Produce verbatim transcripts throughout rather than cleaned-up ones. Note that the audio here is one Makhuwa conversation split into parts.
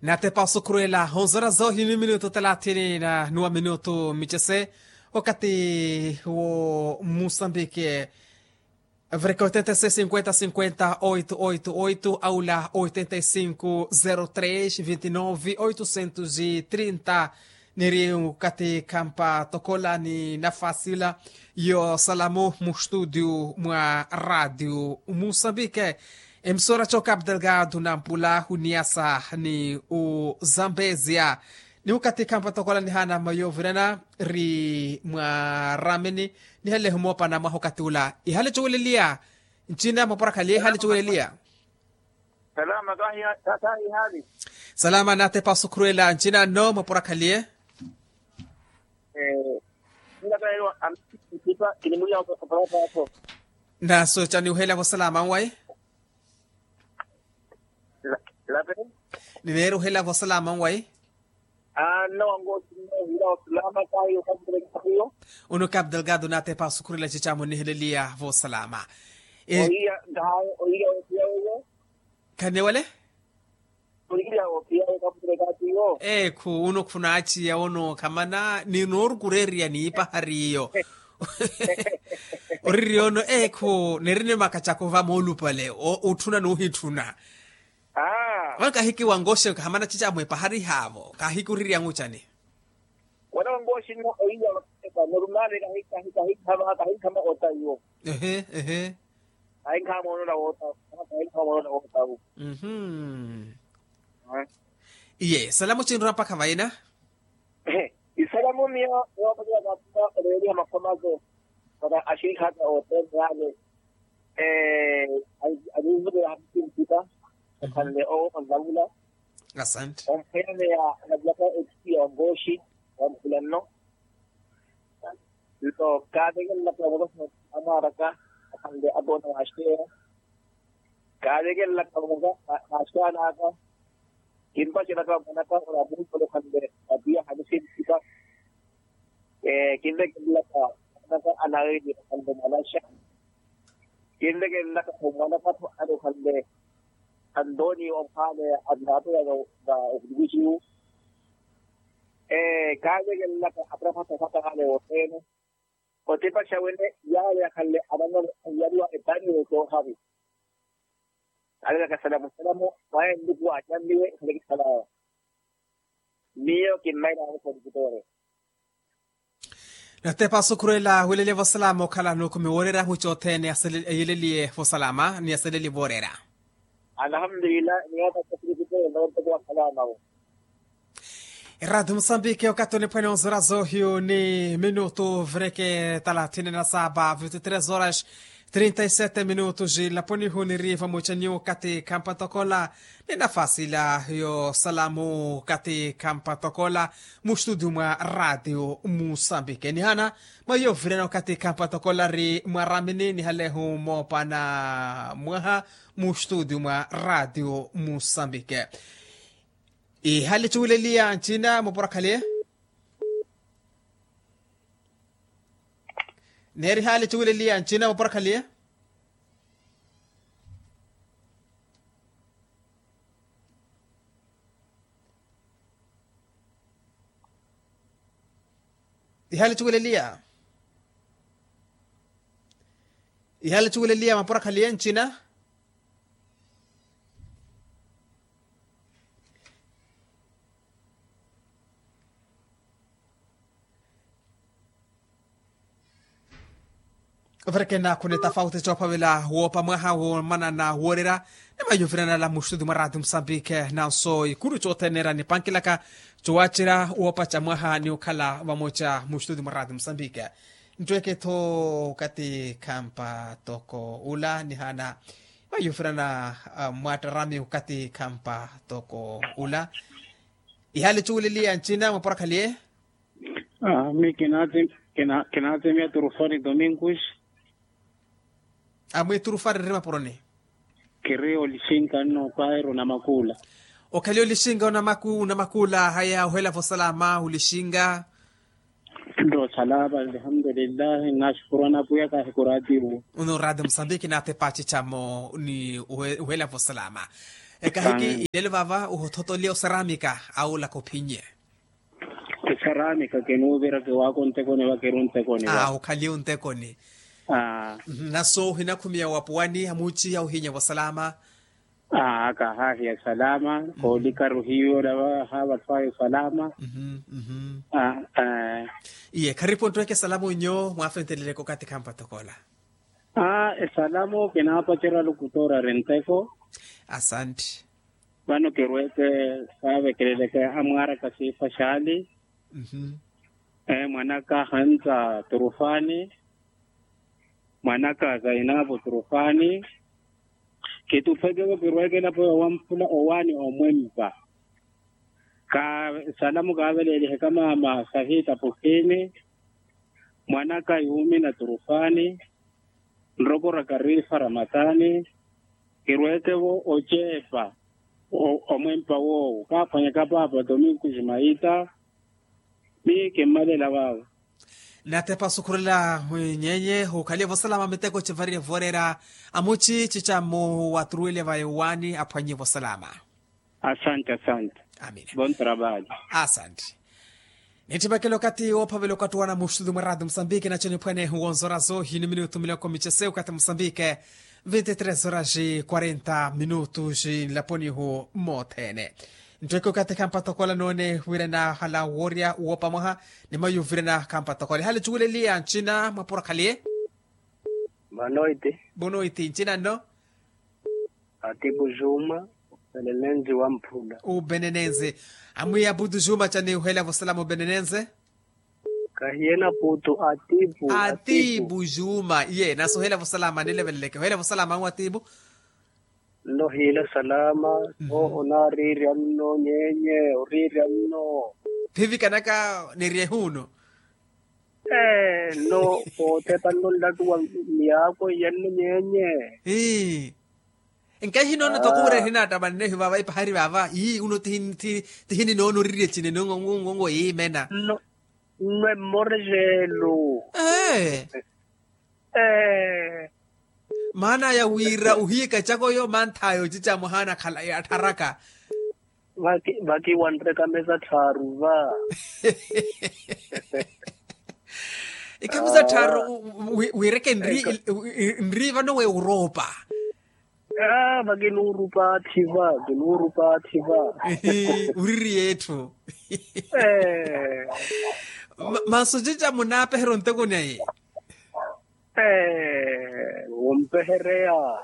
Natepa osukhurwela onzora zohi ni minutu talathini na nuwa minutu michese. Wakati wo musambike, vreka oitenta e seis cinquenta cinquenta oito oito oito aula oitenta e cinco zero tres vinte e nove oitocentos e trinta. Niri wakati kampa tokola ni nafasi ila yo salamu mu studio mwa radio musambike. Emisora cho cap delgado nampula huniasa ni uzambezia. Ni ukati kampa tokola nihana mayovirana ri mwaramini. Nihale humopana mwaha ukati ula ihale chuweleliya. Nchina mwaporakhaliye ihale chuweleliya. Salama kahi hali. Salama natepa osukhurwela nchina nno mwaporakhaliye. Nna kahiwa amitipa kinimuliya opalapaapo. Naso chani uhela vosalama nwayi. Lape. Nineeri uhela vosalama nwayi. Anna wangosi nno uhila osalama kahiyo kampulekatiyo. Unu cap delgado natepa osukhurwela chichamu niheleliya vosalama. Ohiya. Nkahaye ohiya ohiya ohiya. Khanewale. Ohiya ohiya kampulekatiyo. Ekhu unu khunaachiya unu khamana ni noorukureeriya niipahari iyo. Oriri ono ekhu nerini makachako vamoolupale otthuna noohitthuna. Vano kahiki wangoxi kahamana chichamu epahari haavo kahiki oririya nguchani. Wana wangoxi nno ohiya vakheka norumale kahikhama kahikhama ota iwo. Ehe ehe. Kahikhama onona wota. Kahikhama onona wota wu. Mhm. Iye salamu chinrwa mpakha vayina. Isalamu miyo niwapatela kaatuma oleeliha makhomako. Para axirikha aka othene yale. Alinvutela hapisi mpita. Okhanle owo onlavula. Asante. Omphweyaneya anavulaka ekisiya ongoxi. Wamphula nno. Nto kaavekelelaka omuloho amwaaraka. Okhanle akoona waaxeya. Kaavekelelaka omuloho. Naaxeyanaka. Kimpaxelaka mwanaka olamuhipolokhanle. Atiya hanisintika. Kinvekelelaka mwanaka anaili okhanle mwanaxa. Kinvekelelaka mwanaka-tho ale okhanle. Antoni omphwaane annaapeyaka. Okulukuxiwu. Kaavekelelaka atraphata saka ale wothene. Otipaxa wene yaale akhanle ananole anyaliwa epaniwe soohari. Alelaka salamu salamu. Mwaye nluku waachanniwe khale kisalawa. Miyo kimmaila amukhoni kitoore. Natepa osukhurwela wileliye vosalama okhala nukhumi woorera muchotthene eyeleliye vosalama ni aseleli voorera. Alhamdulillah. Niyatakasirikite nontoko wasalama wo. Eradio musambike okathi oniphwene onzora zohiyu ni minutu vreke talathini na saba vinte tres horas trinta e sete minutu jilaponihu niri vamoca nyu kathi khampatokola. Ni nafasi ila yosalamu kathi khampatokola mu studio mwa radio musambike nihana mwa yovirana okathi khampatokola ri mwaramini nihalehu moopana mwaha mu studio mwa radio musambike. Ihali cuwileliya ncina mwaporakhaliye. Neeri ihali cuwileliya ncina mwaporakhaliye. Ihali cuwileliya. Ihali cuwileliya mwaporakhaliye ncina. Overekena khune tafauti coophavela woopa mwaha womanana woorera. Ni mayuvirana ala muxuti mwa radio musambike nanso ikuru coothene era nipankilaka cowacerya woopaca mwaha ni okhala vamoca muxuti mwa radio musambike. Ntweeke-tho okathi khampa toko ula nihana mayuvirana mwattarami okathi khampa toko ula. Ihali cuwileliya ncina mwaporakhaliye. Mi kinaatsimiya turufari domingus. Amwi turufari ri mapuroni. Kiri olixinka nno pairo na makuula. Okhaliye olixinka onamakuula haya ohela vosalama olixinka. Nto salama alhamdulillahi nnaxukurwana pwiya kahi ku radio. Unu radio musambiki naathepa acicamo ni uhela vosalama. Ekahiki ilelo vava uhothotoliya osaramika aulaka ophinye. Esaramika kinuviraka ewaka ontekoni vakiru ontekoni va. Ukhaliye ontekoni. Naso ohinakhumiya wapuwani amuchi auhinya vosalama. Aka ahahiya salama. Koolikaru hiyo lava havatthu ayo salama. Iye kharipu onttweke salama onyo mwafenteleleke okathi khampatthokola. Esalamu kinaapacerya alukutoori ari nteko. Asanti. Vano kirweke saavekeleleke amwaaraka siifa xaali. Mwanaka hantsa turufani. Mwanaka zainapu turufani. Kituphekevo kirweke elapo yowamphula owaani omwempa. Ka salamu kaaveleeliheka maama sahita pukhini. Mwanaka yuumina turufani. Nrokora karifa ramatani. Kirwekevo oceepa omwempa woowo kaaphwanyaka paapa domingo jumaita. Ni kimmalela vaavo. Natepa osukhurela nyenye hukhaliye vosalama miteko civarire vooreera. Amuci cica mmu waturuwele va yowani aphwanye vosalama. Asante asante. Amina. Bon trabalho. Asante. Nitthipakela okathi woophavela okattuwana muxutu mwa radio musambiki naco niphwene wonzora zo hini minutu miloko micese okathi musambiki. Vinti tres horas quarenta minutos nlaponihu mothene. Nttweke okathi khampatthokola noone wira nahala woorya woopa mwaha. Ni mayu vira nakhampatthokola ehali cuweleliya ncina mwapura khaliye. Boa noite. Boa noite ncina nno. Atipu juma. Ubenenenzi wamphula. Ubenenenzi. Amwiya abutu juma cani uhela vosalama ubenenenzi. Kahiye naputu atipu. Atipu juma iye nasi ohela vosalama nileveleleke ohela vosalama anwe atipu. Nno hiila salama. Onaariirya nno nyenye oriirya nno. Phivikanaka niryehu nno. Ee nno. Pootepa nno nlattuwa miyaako iya nno nyenye. Ii. Nkahi noona tokuura ehinattamannehi vava ipahari vava ii uno. Tihini noona orirye cine nongongo yiimena. Nno emmorejelo. Ee. Maana aya wira ohiye ekacako yo manth'aya ocica mwahaana khala yattharaka. Vakiwanreka mesa tthaaru va. Ikamisa tthaaru. Wireke nri vano weuropa. Vakinuurupa atthi va kinuurupa atthi va. Uririye etthu. Masu cica munaapeherya onteko naye. Wompehereya.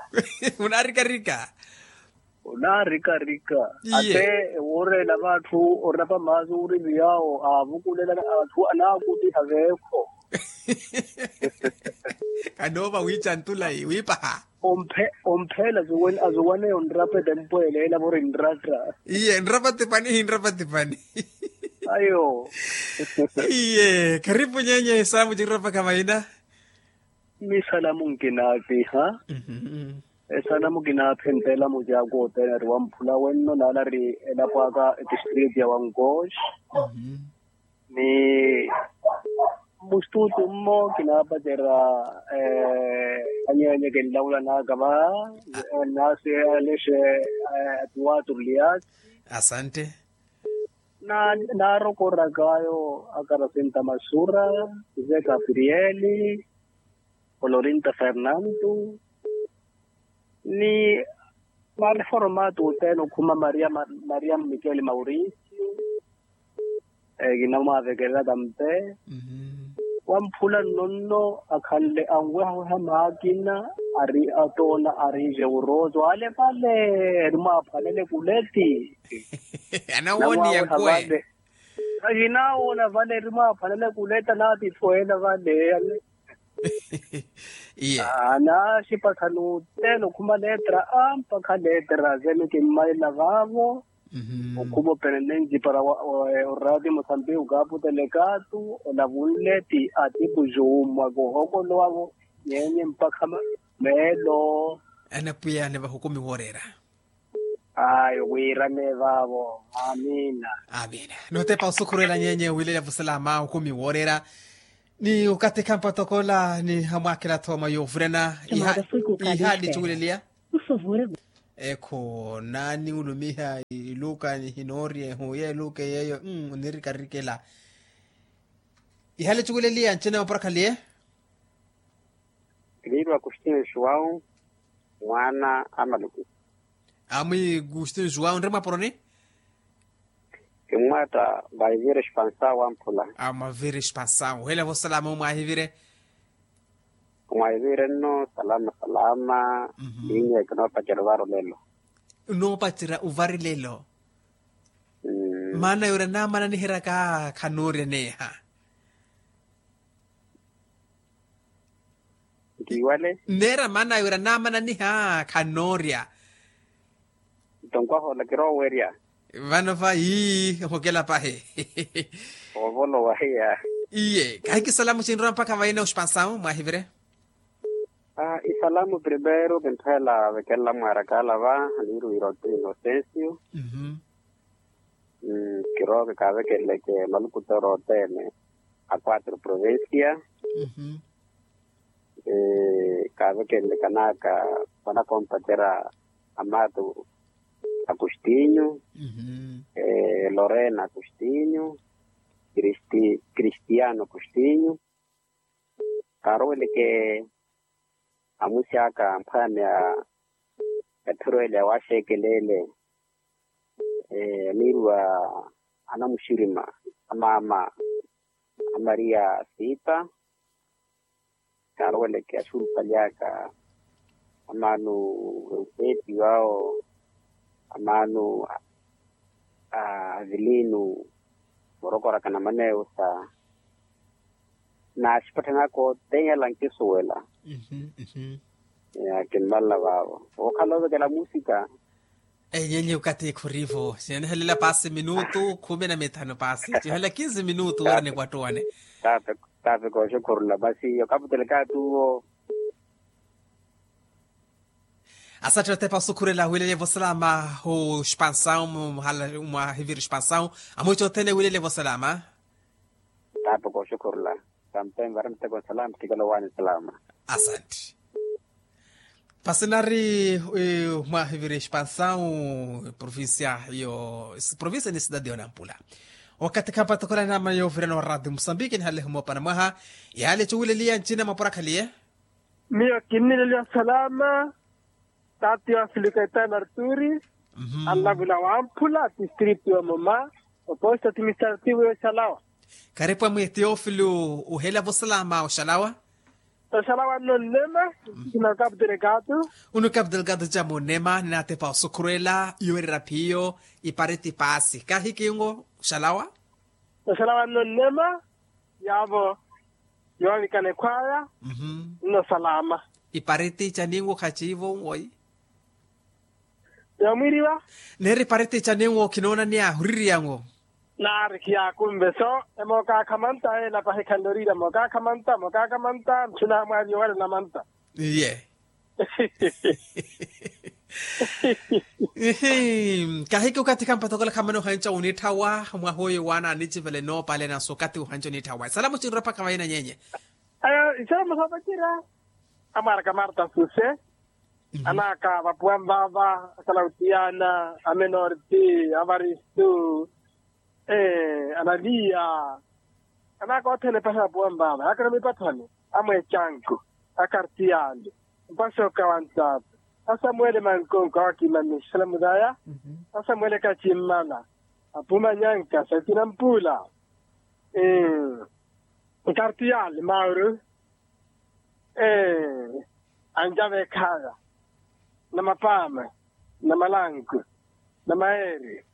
Munaarikarika. Onaarikarika. Ate ewoorela vatthu orapa maasu uriviyawo aavukulela atthu anaakutiha veekho. Kanoova wiica ntulayi wiipaha. Omphela azuwaneya onrapa etempweela ela vori nratta. Iye nrapa tipani hinrapa tipani. Ayo. Iye kharipu nyenye esaamu cirapakha vaina. Misalamu nkinaapiha. Esalamu kinaapha entela mucaku othene ari wamphula wenno nala ari elapo aka etistritu ya wankoxi. Ni mustutu mmo kinaapacerya anyenye kinlawulanaka va. Nasi alexe atuwatru liasi. Asante. Naarokorak'ayo akarasinta masura, josé gabrieli, olorinta fernando, ni mareformato othene okhuma maria mmikeli mauricio. Kinamwaavekelela tampe. Wamphula nno nno akhanle anwehaweha maakina ari atoona ari jeuroso ale vale erimwaaphwanele kuleti. Anawooniya nkwe. Ahinaawona vale erimwaaphwanele kuleta naatitthu ela vale. Iye. Anaaxipa khani othene okhuma letra a mpakha letra zene kimmalela vaavo. Okhuma openenenci para orati mosambiki okaaputela ekaatu olavunle ti atipu jummwa koohokolowa-vo. Nyenye mpakha meelo. Anapwiya ni vahukumi wooreera. Ayo wiirane vaavo. Amina. Amina. Notepa osukhurela nyenye wiilelela vosalama okumi wooreera. Ni okathi khampatthokola ni amwaakhela-tho mwa yoovurana. Ihaali cuweleliya. Ekhu naani ulumiha iluuka nihinooriye ehu ye eluuka yeeyo. Onirikarikela. Ihale cuweleliya ncina maporakhaliye. Kiniirwa kustinyo xuwau mwaana a maluku. Amwi kustinyo xuwau nri mwaporoni. Kimmwaatta mwaivire xipansawu amphula. Amwavire xipansawu hela vosalama omwahivire. Omwahivire nno salama salama. Linya kinoopacela ovara olelo. Onoopacerya ovari lelo. Maana yooreya naamana nihiryaka khanoorya neeha. Ntiiwale. Nneera maana yooreya naamana niha khanoorya. Nto nkwaha ola kiroowerya. Vano va ii ohokela pahi. Ovolowa hiya. Iye kahiki salamu cinrowa mpakha vaina oxipansawu mwahivire. Isalamu primeiro kinthela vekelela mwarakala va. Niiruwira oti inocencio. Kirooke kaavekeleleke malukutoro othene a quatro provincia. Kaavekeleleke anaka vanakompacerya amato. Agostinho. Lorena agostinho. Cristiano agostinho. Kaaroweleke amusi aka mphwanya etthurwele ya waaxekelele. Aniiruwa anamuxirima amaama a maria sita. Kaaroweleke axurupalyaka amaano eupeti wawo amaano a avilino. Orokoraka na maneyo sa naaxipatthani aka othene ala nkisuwela. Kinmalla vaavo okhala ovekela musika. Enyenye okathi khurivo sinihelela paasi minutu khumi na mithanu paasi cihelela kinzi minutu wira nikwattuwane. Tafe kooxukhurula masi okaputelekatu wo. Asatthi otepa osukhurela wilelye vosalama oxpansawu. Mwahiviri xpansawu amwiica othene wilelye vosalama. Tape kooxukhurula. Tampe nvara miteko nsalama kikala owaani nsalama. Asantti. Pasinari mwahiviri xpansawu provincia yo provincia ni sidadi yonampula. Wakathi khampatokhola naama yoovirana wa radio musambiki nihalehe moopana mwaha. Yaale cuwileliya ncina mwaporakhaliye. Miyo kinnileliwa salama. Tati wa filikaitana arturi. Anlavula wamphula tistritu ya moma. Oposto administrativo yoxalawa. Karipu amwi teofilo. Uhela vosalama oxalawa. Oxalawa nno nnema. Sina okapu delegado. Unu okapu delegado ja munema ninatepa osukhurela yowerera phiyo. Ipariti paasi kahikingo oxalawa. Oxalawa nno nnema. Yaavo yoovikana ekhwaya. Nno salama. Ipariti caninwo khaciivo nwoyi. Yoomwiriwa. Neeri ipariti caninwo khinoona ni ahuririyanwo. Naari khiyaakumve so emookakha manta ela pahi khanloriira mookakha manta mookakha manta ntthuna mwaari yowalela manta. Iye. Ihi. Kahiki okathi khampathokola khamana ohanca oniitthawa mwaha oyo waana anicivela enoopalena so okathi ohanca oniitthawa esalamu cinrwa mpakha vahina nyenye. Isalamu soopacerya amwaaraka marta suse. Anaka vapuwa nvaava akalautiyana amenorti avaristu. Analiya anaka othene pahi vapuwa nvaava yaakana mipathani. Amwecanku akartiyali mpasi okawantaata. Asamuwele mankonko awakimani salamu daya. Asamuwele kacimmala apumanyanka satina mpula. Nkartiyali mauru. Anjave ekhaya na mapaama na malanku na maeri.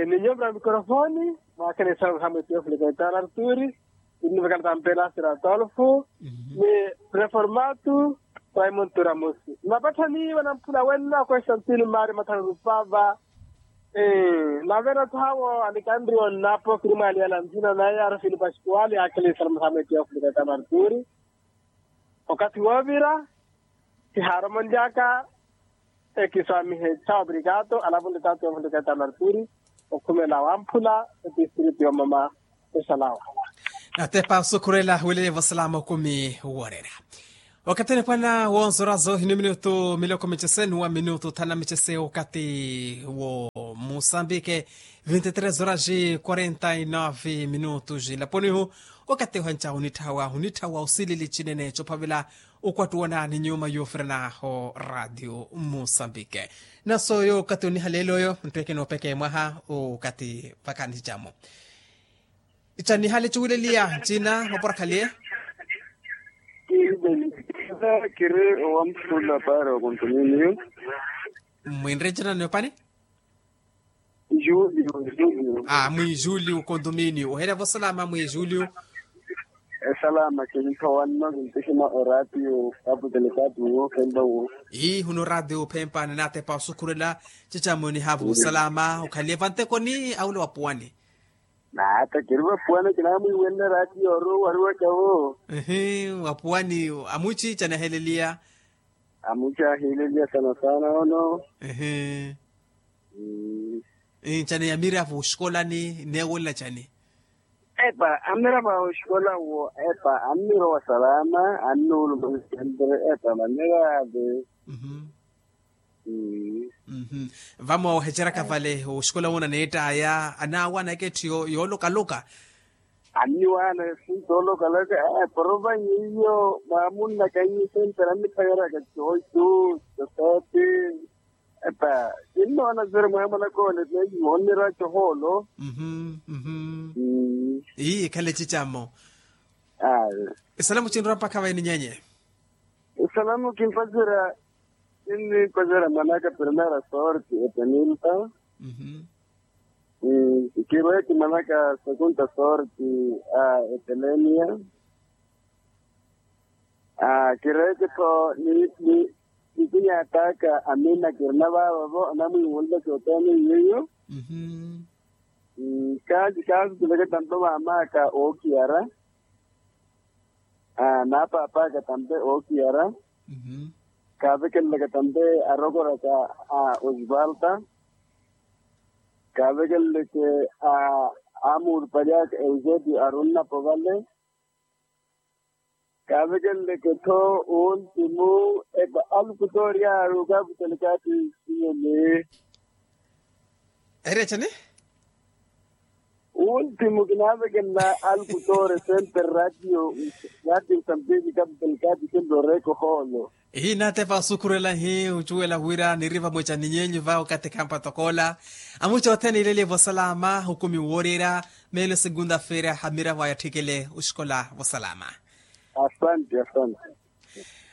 Ni nyombo na mikorofoni. Mwakhene isalu hamwe teofilo kaitala arturi. Ni nivekala tampela sira tolfu ni reformatu. Raimontu ramosi ni mapatthani vanamphula wenna konstantino mario mathanu rupava. Nave nathawo anikanriwa onnapo kiri mwaliyala nthina naye arafini paskuali akhele isalamu hamwe teofilo kaitala arturi. Okathi woovira kihaaromonlyaka. Ekiswamihe tha obrigado alavunle tato yovunleka etano arturi. Okhumela wamphula etistritu yomoma. Esalawa. Natepa osukhurela wilelye vosalama okumi woorera. Wakathi onipwana wonzora zohini minutu miloko michese nuwa minutu thana michese wakathi wo musambike. Vinti tres horas quarenta y nove minutu jilaponihu. Wakathi ohancha hunithawa hunithawa usilili chinene chophavela ukwattuwana ni nyuma yofirana ho radio musambike. Naso yo wakathi onihalele oyo ntweke nopeke mwaha wakathi vakanichamo. Icha nihale chuwileliya china mapura khaliye. Kiri owampula para okontuminiyo. Mwinre china niopani. Julio julio. A mwi julio kontuminiyo ohela vosalama mwi julio. Esalama kinthowanno kintixima oratiyo. Aputelekati wo kemba wo. Ii huno ratio phempa ninatepa osukhurela. Chichamo nihavu salama okhaliye vantekoni aule wapuwani. Naata kiri vapuwani kinamwiiwenle ratio ori owariwaka wo. Ehe. Wapuwani amuchi chanaheleliya. Amuchi aheleliya sana sana ono. Ehe. Chani yamira vo oxikolani neewelela chani? Epa amira va oxikola wo epa amira owasalama. Annuuluma nsentere epa manira ave. Vamo oheceraka vale oxikola wona neettaya anaawanaka etthu yoolokaloka. Anniwaana efunto olokaloka. Porovayi iyo maamunnaka nyi sentere anniphayeraka cooitu. Cosooti. Epa kinnoona siri mweemola koone teeyi moonnirwa cohoolo. Ii ekhale ecicammo. Esalamu cinrowa mpakha vaini nyenye. Esalamu kinpasira kinnimpasira mwanaka primera sorti etenilta. Kirweti mwanaka sekunta sorti a etelenia. Kireeke tho ni ni nikinyataka amina kirina vaavavo anamwiiwonlaka oteene iweyo. Kaasi kaasi kileke tampe maamaka ookiyara. Naapaapaka tampe ookiyara. Kaavekelelaka tampe arokoraka a osvalta. Kaavekeleleke a amuurupalyaka eusebi arunnapo vale. Kaavekeleleke-tho uuntimu epa alukutoori aari okaputelekati. Siyeni. Ereechani. Uuntimu kinaavekelela alukutoori sentere ratio. Ratio sampili kaputelekati sentere oreeka ohoolo. Ihi naatepa osukhurela ihi ocuwela wira niri vamweca ni nyeenyu va okathi khampa tokoola. Amuca othene ileliye vosalama okumi wooreera. Meelo segunda-feira amiravo aya atthikele oxikola vosalama. Asante. Asante.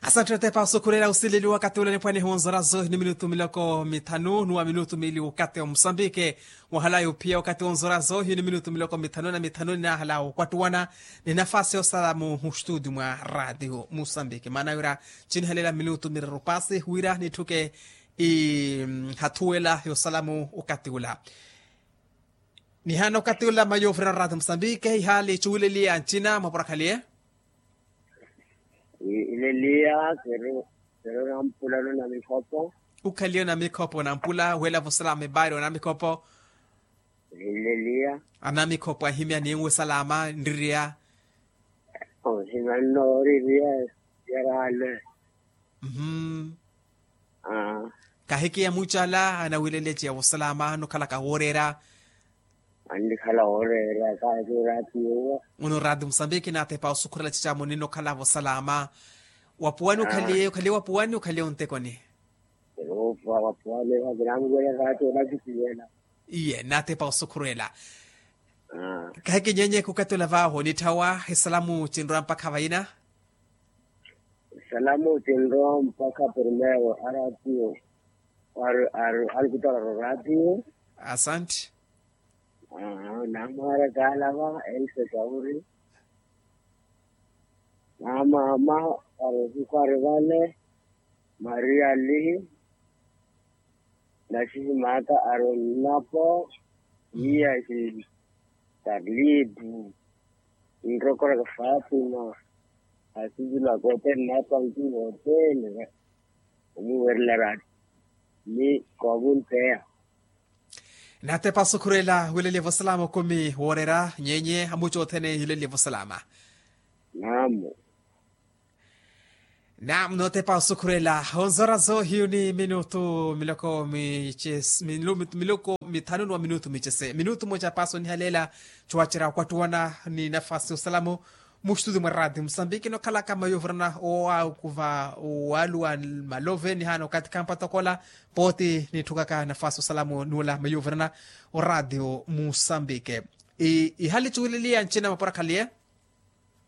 Asante otepa osukhurela osileli wakathi ula nipwanehi wonzora zohi ni minutu miloko mithanu nuwa minutu miili wakathi wa musambike. Wahalayi ophiya wakathi wonzora zohi ni minutu miloko mithanu na mithanu ninahala okwattuwana. Ni nafasi yosala muhustudi mwa ratio musambiki maana wira chinihaleela minutu mireru paasi wira nitthuke ihathuwela yosala mu okathi ula. Nihaana okathi ula mayo ofurana ratio musambiki ihaali chuwileliya ncina mwaporakhaliye. Ileliya kiri kiri nampula nuna mikhopo. Ukhaliye onamikhopo nampula wela vosalama ebaari onamikhopo. Ileliya. Anamikhopo ahimya ninwe salama nririya. Ohimya nnooririya. Yarale. Mmm. Kahikiya mucala anawileleciya vosalama nukhalaka wooreera. Annikhala wooreera kaati oratiyo. Ono oratiyo musambiki naatepa osukhurela cicamu ninokhalavo salama. Wapuwani okhaliye okhaliye wapuwani okhaliye ontekoni? Wapuwani. Kinamuvela kaati onakisiwela. Iye naatepa osukhurela. Kahikinyenye khukatula vaaho nitthawa esalamu cinrowa mpakha vayina. Esalamu cinrowa mpakha primero aratiyo. Alikutola roratiyo. Asanti. Namwara kaalava else kauri. Namama arosikwari vale. Maria li. Nasihimaata aronnapo. Iya si tarlitu. Nrokoraka fatima. Asivulaka othene napanki othene. Omuwerela eraati ni koomunteya. Natepa osukhurela wileliye vosalama okumi wooreera nyenye amuca othene yileliye vosalama. Namu. Naam, nootepa osukhurela onzora zoohiyu ni minutu miloko mices- minutu miloko mithanu ni wa minutu micese minutu moja paso nihaleela. Cowacerya okwattuwana ni nafasi osalamu muxituti mwa rati musambiki nokhalaka mayuvirana owaakuva owaaluwa malove nihaana okathi khampatta okola. Pooti nitthukaka nafasi osalamu nuula mayuvirana orati musambiki. Ihali cuwileliya ncina mapura khaliye.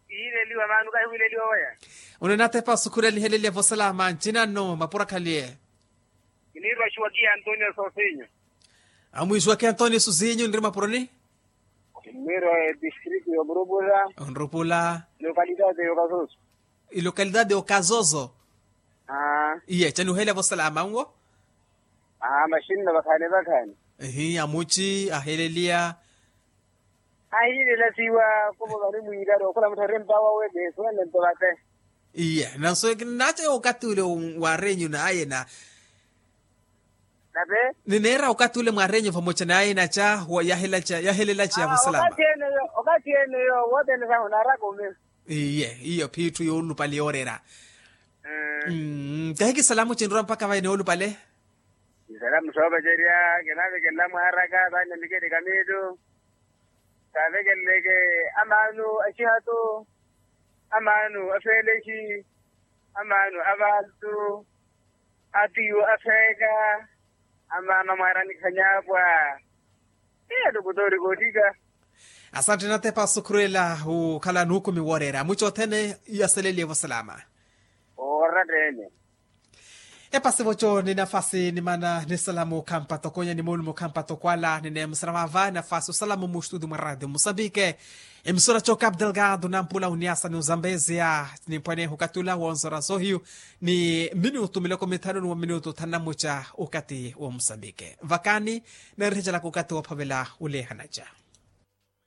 Iileliwa maanu kahiwileliwa waya. Uno natepa osukhurela iheleliya vosalama ncina nno mapura khaliye. Kinirwa xiwaki antonio sosinyo. Amwixiwaki antonio sosinyo nri mapuroni. Kinirwa distrito ya murupula. Nrupula. Lokalidade ya okasoso. Ilokalidade ya okasoso. Iye canuheleya vosalama nwo. Maxinno vakhani vakhani. Ihi amuci aheleliya. Ahiilela siiwa kuvo vani mwiilari okhula mutthu ari mpawa weke suwenle nto vate. Iye nanso naaca okathi ule waarenyu naye na. Nape. Nineera okathi ule mwarenyu vamoca naye naca. Yahelelaca ya vosalama. Okathi ene yo wothene sahu naaraka ome. Iye iyo phiitthu yoolupale yoorera. Kahiki salamu cinrwa mpakha vayi noolupale. Isalamu soopacerya kinavekelela mwaaraka vaani na miketi kamiittu. Kaavekeleleke amaanu axihatu, amaanu afeelexi, amaanu avantu, atiyu afeeka, amaama mwaaranikhanyapwa. Eya tukutoori kootika. Asantte natepa osukhurela okhala nuukumi wooreera amuci othene. Iyaseleliye vosalama. Ooratta ene. Epasi voco ni nafasi nimana nisalamu khampa tokonya ni moolumo khampa tokwala nineemusala vaava nafasi osalamu muxituti mwa radio musambike. Emisora co capu delgado nampula uniasa ni uzambezia. Nimpwaneeha okatula wonsora zohiyu ni minutu miloko mithanu ni wa minutu thanu na muca okati wa musambike vakani. Neerihecelaka okati woophavela uleehanaca.